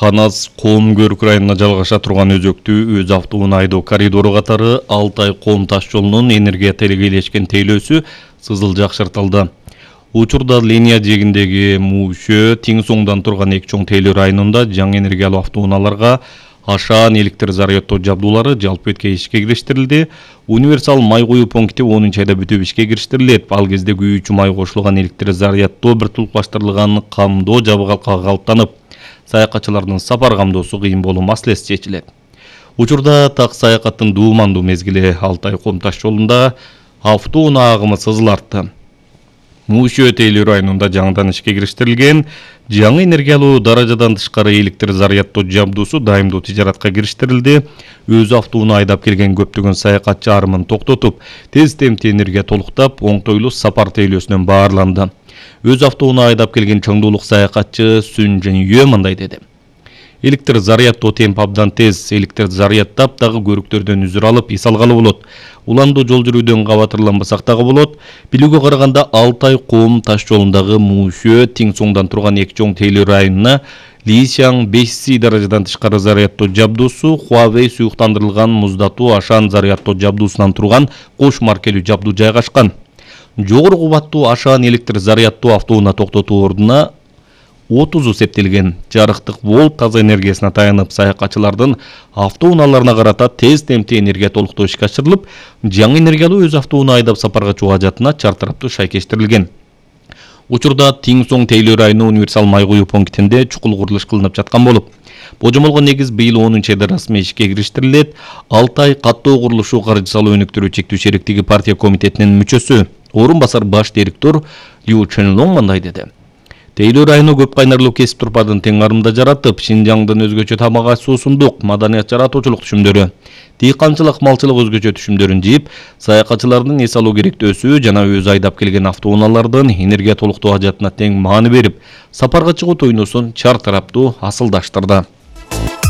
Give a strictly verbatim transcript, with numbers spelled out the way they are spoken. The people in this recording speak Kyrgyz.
Канас Коом Көрүк районуна жалгаша турган өзөктүү өз автоунаа айдоо коридору катары Алтай Коом таш жолунун энергия телегейлешкен тейлөөсү сызыл жакшыртылды. Учурда линия жегиндеги Мушө Тиң соңдан турган эки чоң тейлөө районунда жаңы энергиялуу автоунааларга ашаан электр зарядтоо жабдуулары жалпы этке ишке кириштирилди. Универсал май куюу пункти онунчу айда бүтүп ишке кириштирилет. Ал кезде күйүүчү май кошулган электр зарядтоо биртулукташтырылган камдоо жабыгалка калыптанып, саякатчылардын сапар камдоосу кыйын болуу маселеси чечилет. Учурда так саякаттын дуумандуу мезгили Алтай Коом таш жолунда автоунаа агымы сызыл артты. Мушө тейлөө районунда жаңыдан ишке кириштирилген жаңы энергиялуу даражадан тышкары электр зарядтоо жабдуусу дайымдуу тижаратка кириштирилди. Өз автоунаа айдап келген көптөгөн саякатчы арымын токтотуп, тез темпте энергия толуктап, оңтойлуу сапар тейлөөсүнөн баарланды. Өз автоунаа айдап келген чоңдуулук саякатчы Сүн Жөнүйө мындай деди. Электр зарядтоо темп абдан тез, электр зарядтап дагы көрүктөрдөн үзүр алып эс алгалы болот. Уландуу жол жүрүүдөн кабатырланбасак дагы болот. Билүүгө караганда Алтай Коом таш жолундагы Мушө Тиң соңдан турган эки чоң тейлөө районуна Лисяң беш си даражадан тышкары зарядтоо жабдуусу, Huawei суюктандырылган муздатуу ашаан зарядтоо жабдуусунан турган кош маркелүү жабдуу жайгашкан. Жогору кубаттуу ашаан электр зарядтоо автоунаа токтотуу ордуна отузу септелген жарыктык волт таза энергиясына таянып, саякатчылардын автоунааларына карата тез темпте энергия толуктоо ишке ашырылып, жаңы энергиялуу өз автоунаа айдап сапарга чыгуу ажатына чартараптуу шайкештирилген. Учурда Тиң соң тейлөө району универсал май куюу пунктинде чукул курулуш кылынып жаткан болуп, божомолго негиз быйыл онунчу айда расмий ишке кириштирилет. Алтай каттоо курулушу каржы салуу өнүктүрүү чектүү шериктиги партия комитетинин мүчөсү, орун басар баш директор Лю Ченлонг мындай деди. Тейлөө району көп кайнарлуу кесип турпадын тең арымда жаратып, Шинжаңдын өзгөчө тамак аш суусундук, маданият жаратуучулук түшүмдөрү, дыйканчылык, малчылык өзгөчө түшүмдөрүн жийип, саякатчылардын эс алуу керектөөсү жана өз айдап келген автоунаалардын энергия толуктоо ажатына тең маани берип, сапарга чыгуу тойносун чартараптуу асылдаштырды.